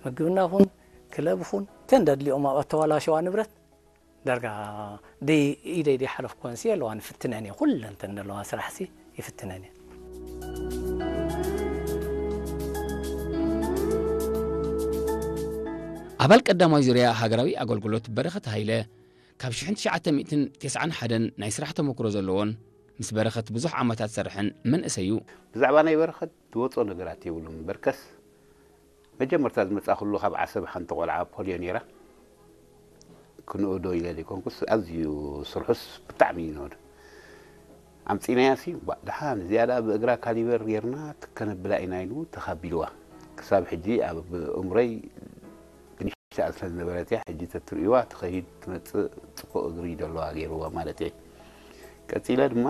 ምግብና ኹን ክለብ ኹን ተን ደድልኦም ኣብ ኣተዋላሸዋ ንብረት ዳርጋ ደይ ኢደይ ደይ ሓለፍኩወን ሲ ኣለዋ ንፍትነን እየ ኩለን ተን ዘለዋ ስራሕ ሲ ይፍትነን እየ። ኣባል ቀዳማይ ዙርያ ሃገራዊ ኣገልግሎት በረኸት ሃይለ ካብ ሽሕን ትሽዓተ ሚእትን ተስዓን ሓደን ናይ ስራሕ ተመክሮ ዘለዎን ምስ በረኸት ብዙሕ ዓመታት ዝሰርሐን መንእሰይ እዩ። ብዛዕባ ናይ በረኸት ዝወፅኦ ነገራት የብሉን። በርከስ መጀመርታ ዝመፃእኩሉ ካብ ዓሰብ ሓንቲ ቆልዓ ፖልዮ ነይራ። ክንእዶ ኢለ ዘይኮንኩስ ኣዝዩ ስርሑስ ብጣዕሚ እዩ ንእዶ። ኣምፂናያ ሲ ባ- ደሓን እዚኣ ደኣ ብእግራ ካሊበር ጌርና ከነብላ ኢና ኢሉ ተኻቢልዋ። ክሳብ ሕጂ ኣብ እምሮይ ብንሽተኣ ስለ ዝነበረት እያ። ሕጂ ተትርእይዋ ትኸይድ ትመፅእ ፅቡቕ እግሪ ደለዋ ገይርዋ ማለት እየ። ቀፂለ ድማ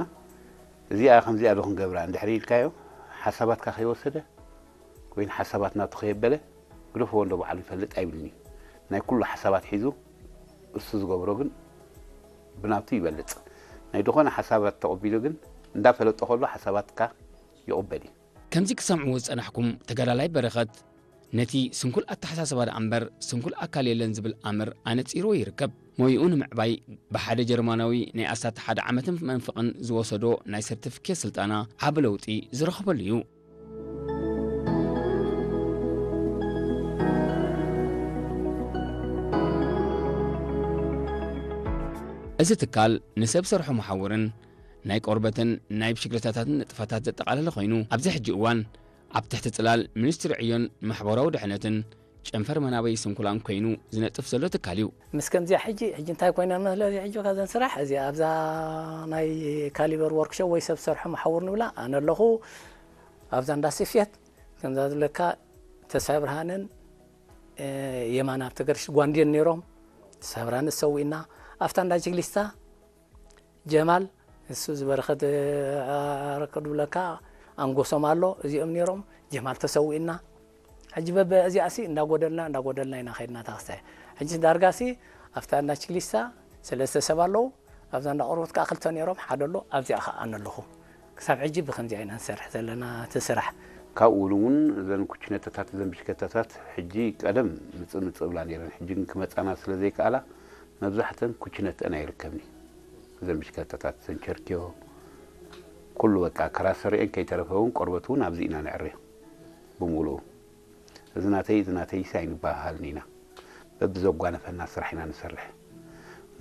እዚኣ ከምዚኣ ዶ ክንገብራ እንድሕር ኢልካዮ ሓሳባትካ ከይወሰደ ወይ ሓሳባት ናቱ ከየበለ ግደፍዎ እንዶ ባዕሉ ይፈልጥ ኣይብልን እዩ። ናይ ኩሉ ሓሳባት ሒዙ እሱ ዝገብሮ ግን ብናቱ ይበልፅ። ናይ ዝኾነ ሓሳባት ተቐቢሉ ግን እንዳፈለጦ ከሎ ሓሳባትካ ይቕበል እዩ። ከምዚ ክሰምዕዎ ዝጸናሕኩም ተጋዳላይ በረኸት ነቲ ስንኩል ኣተሓሳስባ ደኣ እምበር ስንኩል ኣካል የለን ዝብል ኣምር ኣነጺርዎ ይርከብ። ሞይኡ ንምዕባይ ብሓደ ጀርማናዊ ናይ ኣስታት ሓደ ዓመትን መንፍቕን ዝወሰዶ ናይ ሰርቲፊኬት ስልጠና ዓቢ ለውጢ ዝረኸበሉ እዩ። እዚ ትካል ንሰብ ሰርሖ መሓውርን ናይ ቆርበትን ናይ ብሽክለታታትን ንጥፈታት ዘጠቓለለ ኮይኑ ኣብዚ ሕጂ እዋን ኣብ ትሕቲ ጽላል ሚኒስትሪ ዕዮን ማሕበራዊ ድሕነትን ጨንፈር መናበይ ስንኩላን ኮይኑ ዝነጥፍ ዘሎ ትካል እዩ። ምስ ከምዚኣ ሕጂ ሕጂ እንታይ ኮይና መስለዚ ሕጂ ካብዘን ስራሕ እዚ ኣብዛ ናይ ካሊበር ወርክሾፕ ወይ ሰብ ሰርሖ መሓውር ንብላ ኣነ ኣለኹ ኣብዛ እንዳ ስፌት ከምዛ ዝብለካ ተስፋ ብርሃንን የማን ኣብ ተገርሽ ጓንድዮን ነይሮም ተስፋ ብርሃን ዝሰውእና ኣብታ እንዳ ጅግሊስታ ጀማል እሱ ዝበረኸት ኣረከ ድብለካ ኣንጎሶም ኣሎ እዚኦም ነይሮም ጀማል ተሰዊእና ሕጂ በበ እዚኣ ሲ እንዳጎደልና እንዳጎደልና ኢና ከይድና ታክስታይ ሕጂ ዳርጋ ሲ ኣብታ እንዳ ችግሊስታ ሰለስተ ሰብ ኣለዉ ኣብዛ እንዳ ቆርበት ከዓ ክልተ ነይሮም ሓደ ኣሎ ኣብዚኣ ከዓ ኣነ ኣለኹ ክሳብ ሕጂ ብከምዚኣ ኢና ንሰርሕ ዘለና እቲ ስራሕ ካብኡ እውን እዘን ኩችነተታት እዘን ብሽከተታት ሕጂ ቀደም ምፅእ ምፅእ ብላ ነይረን ሕጂ ግን ክመፃና ስለ ዘይከኣላ መብዛሕተን ኩችነተን ኣይርከብኒ እዘን ብሽከተታት እዘን ቸርኪዮ ኩሉ በቃ ከራሰሪኤን ከይተረፈ እውን ቆርበት እውን ኣብዚ ኢና ነዕርዮ ብሙሉኡ እዚ ናተይ እዚ ናተይሲ ኣይንበሃሃልን ኢና በብዘጓነፈና ስራሕ ኢና ንሰርሕ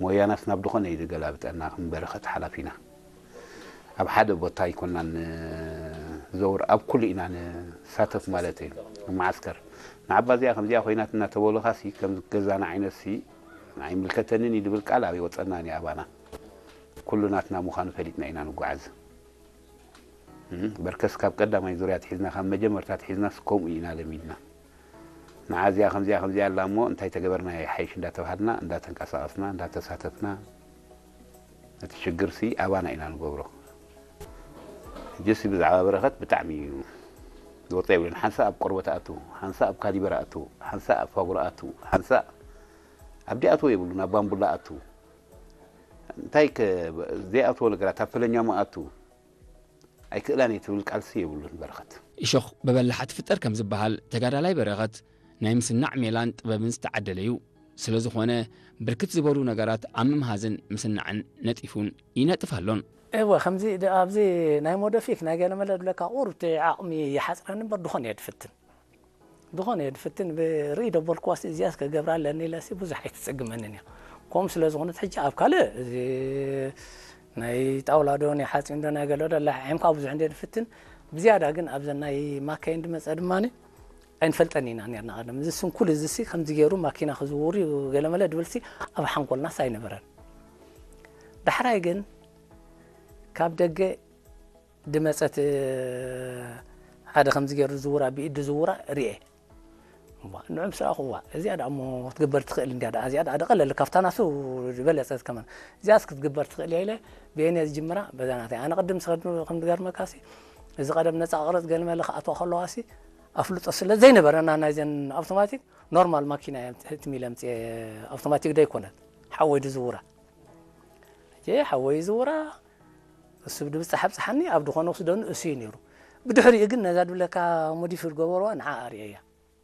ሞያናስ ናብ ድኾነ እዩ ዝገላብጠና ክንበረኸት ሓላፊና ኣብ ሓደ ቦታ ኣይኮናን ንዘውር ኣብ ኩሉ ኢና ንሳተፍ ማለት እዩ ንመዓስከር ንዓባ እዚኣ ከምዚኣ ኮይናት እናተበሉኻሲ ከም ገዛና ዓይነትሲ ኣይምልከተንን እዩ ዝብል ቃል ኣይወፀናን እዩ ኣባና ኩሉ ናትና ምዃኑ ፈሊጥና ኢና ንጓዓዝ በርከስ ካብ ቀዳማይ ዙርያ ትሒዝና ካብ መጀመርታ ትሒዝናስ ከምኡ ኢና ለሚድና ንዓ እዚኣ ከምዚኣ ከምዚኣ ኣላ እሞ እንታይ ተገበርና ይሓይሽ እንዳተባሃልና እንዳተንቀሳቐስና እንዳተሳተፍና እቲ ሽግርሲ ኣባና ኢና ንገብሮ ሕጂሲ ብዛዕባ በረኸት ብጣዕሚ እዩ ዝወፀ የብሉን ሓንሳ ኣብ ቆርበት ኣቱ ሓንሳ ኣብ ካሊበር ኣቱ ሓንሳ ኣብ ፋጉራ ኣቱ ሓንሳ ኣብ ዲኣትዎ የብሉን ኣብ ባምቡላ ኣቱ እንታይ ዘይኣትዎ ነገራት ኣብ ፈለኛሞ ኣቱ ኣይክእላን እየ ትብል ቃልሲ የብሉን በረኸት። እሾኽ ብበላሓ ትፍጠር ከም ዝበሃል ተጋዳላይ በረኸት ናይ ምስናዕ ሜላን ጥበብን ዝተዓደለ እዩ። ስለ ዝኾነ ብርክት ዝበሉ ነገራት ኣብ ምምሃዝን ምስናዕን ነጢፉን ይነጥፍ ኣሎን። እወ ከምዚ ኣብዚ ናይ ሞደፊክ ናይ ገለመለ ድለካ ቁሩብ ዓቕሚ ይሓፅረኒ እምበር ድኾነ እየ ድፍትን ድኾነ እየ ድፍትን ብርኢ ደበልኩዋስ እዚኣስ ከገብራ ኣለኒ ኢለሲ ብዙሕ ኣይትፅግመንን እያ ከምኡ ስለ ዝኾነት ሕጂ ኣብ ካልእ እዚ ናይ ጣውላ ዶ ናይ ሓፂን ዶ ናይ ገለ ዶ ላሕዒምካ ብዙሕ እንደ ድፍትን ብዝያዳ ግን ኣብዘ ናይ ማካይን ድመፀ ድማ ኣይንፈልጠን ኢና ነርና ቀደም እዚ ስንኩል እዚ ሲ ከምዚ ገይሩ ማኪና ክዝውር እዩ ገለመለ ድብል ሲ ኣብ ሓንኮልናስ ኣይነበረን ዳሕራይ ግን ካብ ደገ ድመፀት ሓደ ከምዚ ገይሩ ዝውራ ብኢድ ዝውራ ርኤ ንዑም ስራኹዋ እዚኣ ደኣ እሞ ክትግበር ትኽእል እንዲያ ደኣ እዚኣ ደኣ ደቐለል ካብታ ናሱ ዝበለፀት ከማን እዚኣስ ክትግበር ትኽእል እያ ኢለ ብየን እየ ዝጅምራ በዛ ናተይ ኣነ ቅድም ስኸድ ከም ዝገርመካሲ እዚ ቀደም ነፃ ቅረፅ ገልመለ ክኣትዋ ከለዋሲ ኣፍልጦ ስለ ዘይነበረና ናይዘን ኣውቶማቲክ ኖርማል ማኪና እየ ትሚለ ምፅየ ኣውቶማቲክ ደይኮነት ሓወይ ድዝውራ ሓወይ ዝውራ እሱ ብድብጻሕ ኣብጽሓኒ ኣብ ድኾነ ክስደኑ እሱ እዩ ነይሩ። ብድሕሪኡ ግን ነዛ ድብለካ ሞዲፊ ዝገበርዋ ንዓ ኣርእየያ።